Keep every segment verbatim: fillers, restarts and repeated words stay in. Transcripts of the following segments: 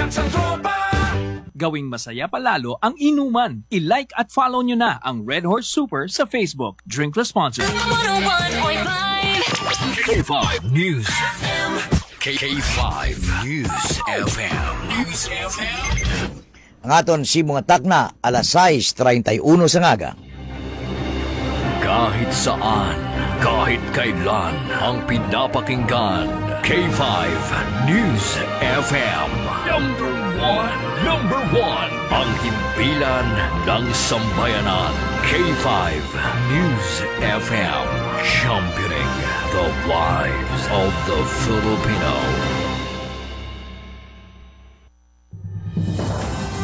Sa tropa! Gawing masaya pa lalo ang inuman. I-like at follow nyo na ang Red Horse Super sa Facebook. Drink responsibly. One oh one point five. K five News F M. K five News F M. News F M. Ang aton sibong nga takna, alas sais treinta y uno sa ngaga. Kahit saan, kahit kailan, ang pinapakinggan, K five News F M. Number one, number one, ang himpilan ng sambayanan, K five News F M, championing the lives of the Filipino.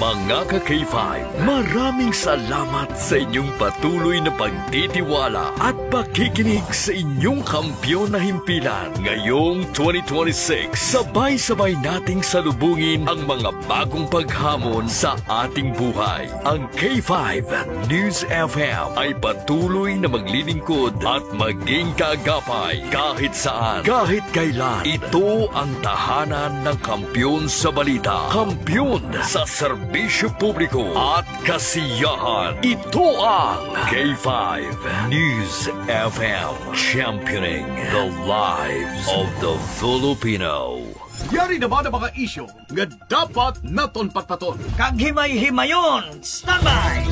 Mga ka-K five, maraming salamat sa inyong patuloy na pagtitiwala at pakikinig sa inyong kampiyon na himpilan. Ngayong twenty twenty-six, sabay-sabay nating salubungin ang mga bagong paghamon sa ating buhay. Ang K five News F M ay patuloy na maglilingkod at maging kaagapay kahit saan, kahit kailan. Ito ang tahanan ng kampiyon sa balita, kampiyon sa serbisyo publiko at kasiyahan. Ito ang K five News F M, championing the lives of the Filipino. Yari naman ang mga isyu nga dapat naton patpaton. Kag himay-himayon, standby!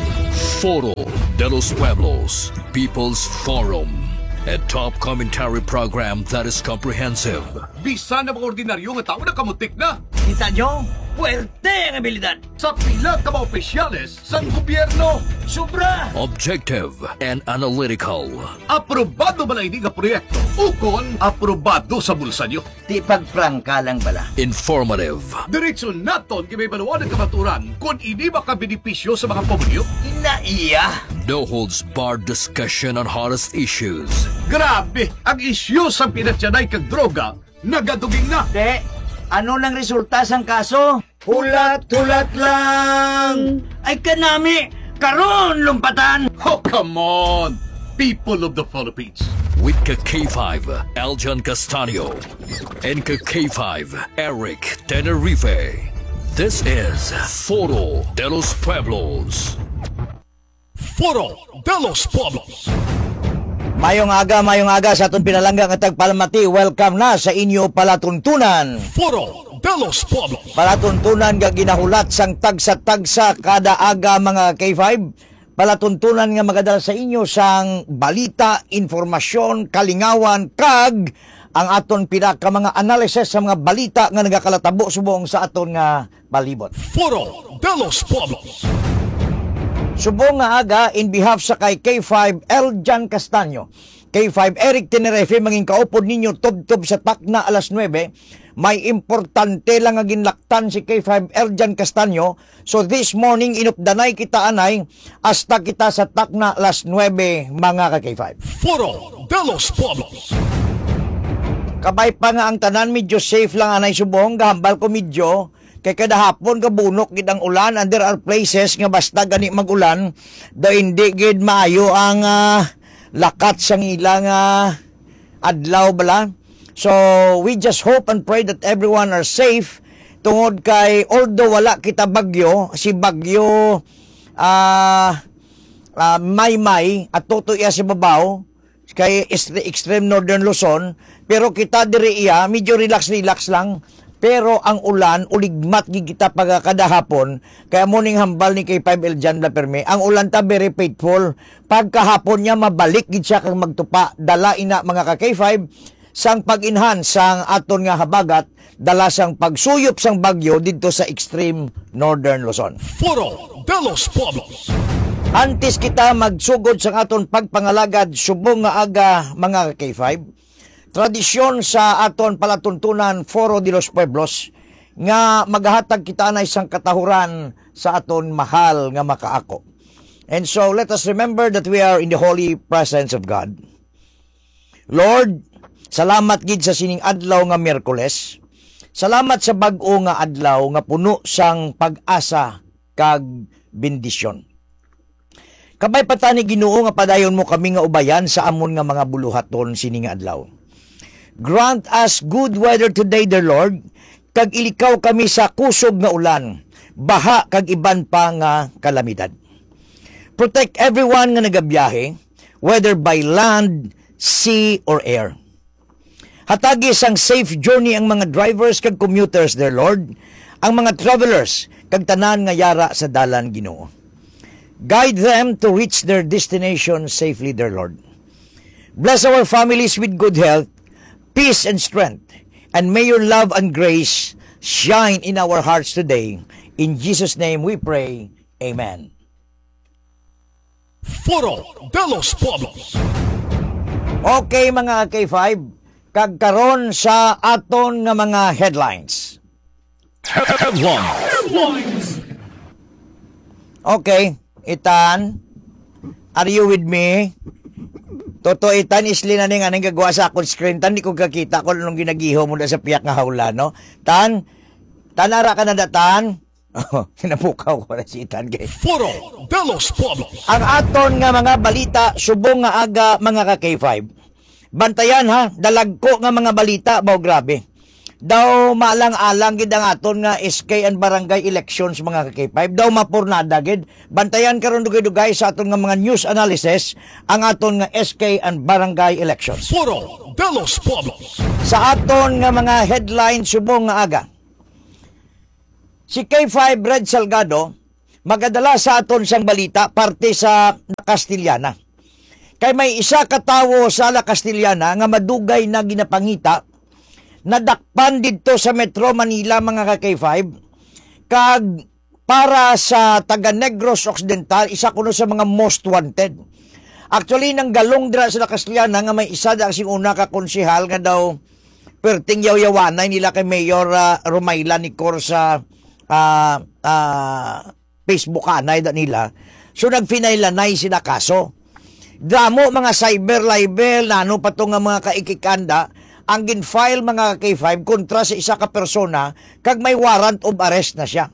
Foro de los Pueblos, People's Forum, a top commentary program that is comprehensive. Bisan ang mga ordinaryo nga tawo nakamutik na. Kita nyo? Puwerte ang abilidad. Sa pila ka mga opisyales sang gobyerno. Sobra! Objective and analytical. Aprobado ba lang ini nga proyekto? Ukon aprobado sa bulsa nyo? Di pagprangka lang bala. Informative. Diretso naton gibaybaluan ang kamaturan kon ini makabenepisyo sa mga pamilyo. Ina iya. No holds barred discussion on hottest issues. Grabe, ang isyu sang pinatyanay kag droga nagaduging na. Te, ano nang resulta sang kaso? Hulat-hulat lang. Ay kanami, karon lumpatan. Oh, come on, people of the Philippines. With ka K five, Eljan Castaño, and ka K five, Eric Tenerife. This is Foro de los Pueblos. Foro de los Pueblos. Mayong aga, mayong aga sa aton pinalangga nga tagpalamati. Welcome na sa inyo palatuntunan. Foro de los Pueblos. Palatuntunan nga ginahulat sang tagsa-tagsa kada aga, mga K five. Palatuntunan nga magadala sa inyo sang balita, informasyon, kalingawan, kag ang aton pila ka mga analysis sa mga balita nga nagakalatabo subong sa aton nga palibot. Foro de los Pueblos. Subong nga aga, in behalf sa kay K five Eljan Castaño, K five Eric Tenerife, mangin kaupod ninyo tubtob sa takna alas nuebe. May importante lang nga ginlaktan si K five Eljan Castaño. So this morning, inupdanay kita anay, hasta kita sa takna alas nuebe, mga ka K five. Foro de los Pueblos. Kabay pa nga ang tanan, medyo safe lang anay subong, gahambal ko medyo, kay kada hapon gabunok gid ang ulan, and there are places nga basta gani mag-ulan, daw hindi gid maayo ang, ah, lakat sang ilang, ah, adlaw bala. So, we just hope and pray that everyone are safe, tungod kay although wala kita bagyo, si bagyo, ah, ah, Maymay, at tuto iya sa babaw, kay est-, extreme northern Luzon, pero kita diri iya, medyo relax-relax lang. Pero ang ulan, uligmat gid kita pagkakadahapon, kay amo ning hambal ni K five Eljan Blaperme, ang ulan ta very faithful. Pagkahapon niya, mabalik gid siya kag magtupa. Dala ina, mga ka K five, sang pag-enhance sang aton nga habagat, dala sang pagsuyop sang bagyo didto sa extreme northern Luzon. Foro de los Pueblos. Antes kita magsugod sang aton pagpangalagad subong nga aga, mga ka K five, tradisyon sa aton palatuntunan, Foro de los Pueblos, nga magahatag kita anay sang katahuran sa aton mahal nga makaako. And so, let us remember that we are in the holy presence of God. Lord, salamat gid sa sining adlaw nga Miyerkules. Salamat sa bag-o nga adlaw nga puno sang pag-asa kag bendisyon. Kabay pa tani, Ginoo, nga padayon mo kami nga ubayan sa amon nga mga buluhaton sini nga adlaw. Grant us good weather today, dear Lord, kag ilikaw kami sa kusog nga ulan, baha, kag iban pa nga kalamidad. Protect everyone nga nagabiyahe, whether by land, sea, or air. Hatagi sang safe journey ang mga drivers kag commuters, dear Lord, ang mga travelers, kag tanan nga yara sa dalan, Ginoo. Guide them to reach their destination safely, dear Lord. Bless our families with good health, peace, and strength. And may your love and grace shine in our hearts today. In Jesus' name we pray. Amen. Foro de los Pueblos. Okay, mga K five, kag karon sa aton nga mga headlines. Headlines. Okay, Itan, are you with me? Toto, Itan, isli na ning aning gagawa sa akon screen. Tan, di ko kakita kung anong ginagiho mo na sa piyak nga hawla, no? Tan, Tan, ara ka na da, Tan? Oh, kinabukaw ko na si Itan kay Foro de los Pueblos. Ang aton nga mga balita subong nga aga, mga ka-K five. Bantayan, ha, dalagko nga mga balita ba, grabe. Daw maalang-alang gid ang aton nga S K and barangay elections, mga ka-K five. Daw mapurnada gid. Bantayan karon dugay-dugay sa aton nga mga news analysis ang aton nga S K and barangay elections. Foro de los Pueblos. Sa aton nga mga headline subong nga aga, si K five Red Salgado magadala sa aton sang balita parte sa La Castellana. Kay may isa ka tawo sa La Castellana nga madugay na ginapangita, nadakpan didto sa Metro Manila, mga ka-K five, kag para sa taga Negros Occidental, isa kuno sa mga most wanted. Actually, nanggalong dira sa La Castellana nga may isa da sing una ka konsehal nga daw perting yawyawanay nila kay Mayor, ah, Romayla Nicor sa, ah, ah, Facebook anay da nila. So, nagfinailanay sila kaso. Damo mga cyber libel, nano pa to nga mga kaikikanda, ang gin-file, mga K five, kontra sa isa ka persona, kag may warrant of arrest na siya.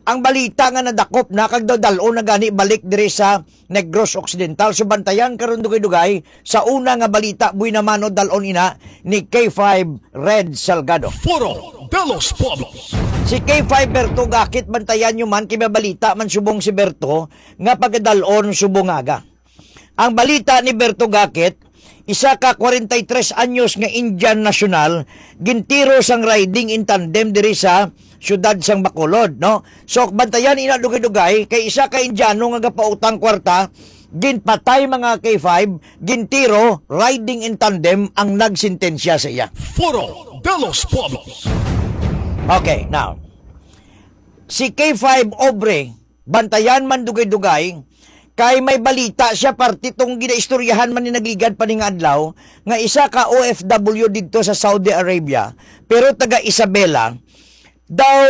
Ang balita nga nadakop na kag dadal-on na gani balik diri sa Negros Occidental. So, bantayan karon dugay-dugay sa una nga balita, buhi na man o dal-on ina ni K five Red Salgado. Foro de los Pueblos. Si K five Berto Gakit, bantayan nyo man, kay may balita man subong si Berto nga pagadal-on subong aga. Ang balita ni Berto Gakit, isa ka kwarenta y tres anyos nga Indian national, gintiro sang riding in tandem diri sa siyudad sang Bacolod, no? So, bantayan ina dugay-dugay, kay isa ka Indiano nga gapautang kwarta, ginpatay, mga K five, gintiro, riding in tandem ang nagsentensya sa iya. Foro de los Pueblos. Okay, now, si K five Obre, bantayan man dugay-dugay, kay may balita siya, parte tong ginaistoryahan man ni nagligad pa ni nga adlaw, nga isa ka O F W didto sa Saudi Arabia, pero taga Isabela, daw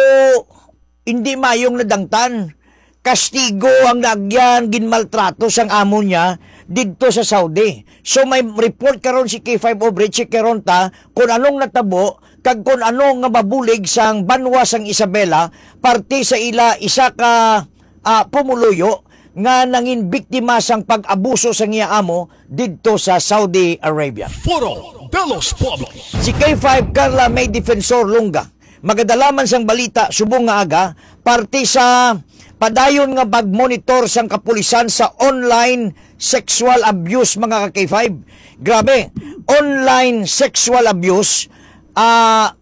hindi mayong nadangtan. Kastigo ang naagyan, ginmaltrato sang amo niya didto sa Saudi. So, may report karon si K five Obre, check karon ta kung anong natabo kag kung ano nga mabulig sang banwa sang Isabela, parte sa ila isa ka, ah, pumuluyo nga nangin biktima sang pag-abuso sang iya amo didto sa Saudi Arabia. Foro de los Pueblos. Si K five Carla May Defensor Lunga, magadala man sang balita subong nga aga, parte sa padayon nga pagmonitor sang kapulisan sa online sexual abuse, mga ka-K five. Grabe, online sexual abuse, ah,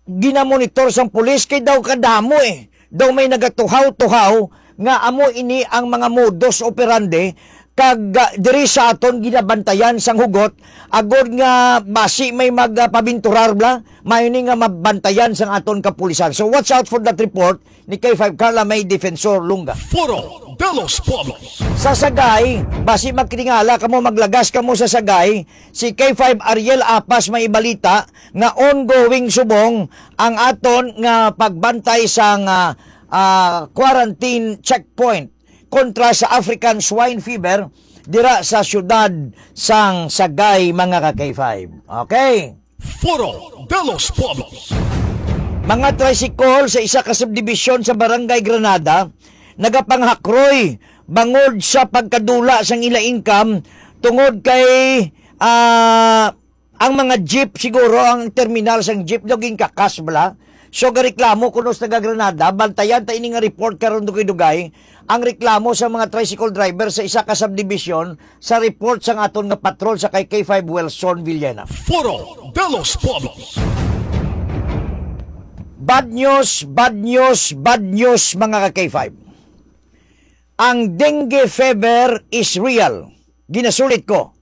ginamonitor sang pulis kay daw kadamo, eh. Daw may nagatuhaw-tuhaw nga amo ini ang mga modus operandi kag, ah, diri sa aton ginabantayan sang hugot, agod nga basi may magpabinturar bla, mayo ni nga mabantayan sang aton kapulisan. So, watch out for that report ni K five Carla May Defensor Lunga. Foro de los Pueblos. Sa Sagay, basi magtingala kamo, maglagas kamo sa Sagay, si K five Ariel Apas may ibalita nga ongoing subong ang aton nga pagbantay sang, ah, ah, quarantine checkpoint kontra sa African Swine Fever dira sa siyudad sang Sagay, mga ka-K five. Okay. Foro de los Pueblos. Mga tricycle sa isa ka subdivision sa Barangay Granada nagapanghakroy bangod sa pagkadula sang ila income tungod kay, ah, ang mga jeep, siguro ang terminal sang jeep daw ginkakas bala. So, gareklamo kuno sa taga Granada, bantayan ta ini nga report karon, dugay-dugay, ang reklamo sa mga tricycle driver sa isa ka subdivision sa report sang aton nga patrol sa kay K five Wilson Villena. Foro de los Pueblos. Bad news, bad news, bad news, mga ka K five. Ang dengue fever is real. Ginasulit ko,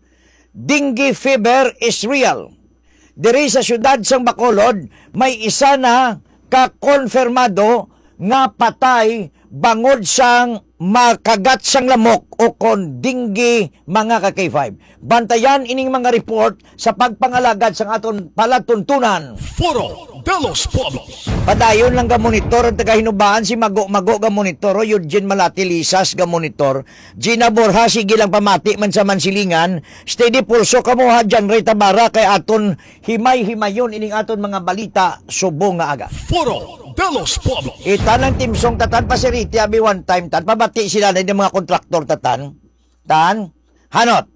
dengue fever is real. Diri sa siyudad sang Bacolod, may isa na ka konfirmado nga patay bangod sang makagat sang lamok o kon dengue, mga ka K five. Bantayan ining mga report sa pagpangalagad sang aton palatuntunan. Foro de los Pueblos. Padayon lang ga monitor ang taga Hinubaan, si Mago-Mago ga monitor, o Eugene Malati Lisas ga monitor, Gina Borja, sige lang pamati man sa Mansilingan, steady pulso kamo ha, John Ray Tabara, kay aton himay-himayon ining aton mga balita subong nga aga. Foro de los Pueblos. Itan ang timsong tatan, pasiriti abi one time tan, pabati sila na yung mga kontraktor tatan. Tan, hanot.